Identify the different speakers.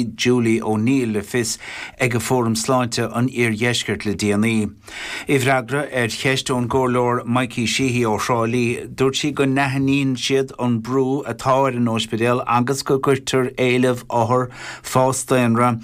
Speaker 1: Julie O'Neill le fios ag Fóram Sláinte an Iardheiscirt le déanaí. I bhfreagra ar cheist ón gComhairleoir Mikey Sheehy ó Thrá Lí, dúirt sí go n-aithníonn siad an brú atá ar an ospidéal agus go gcuirtear éileamh othar, fás daonra.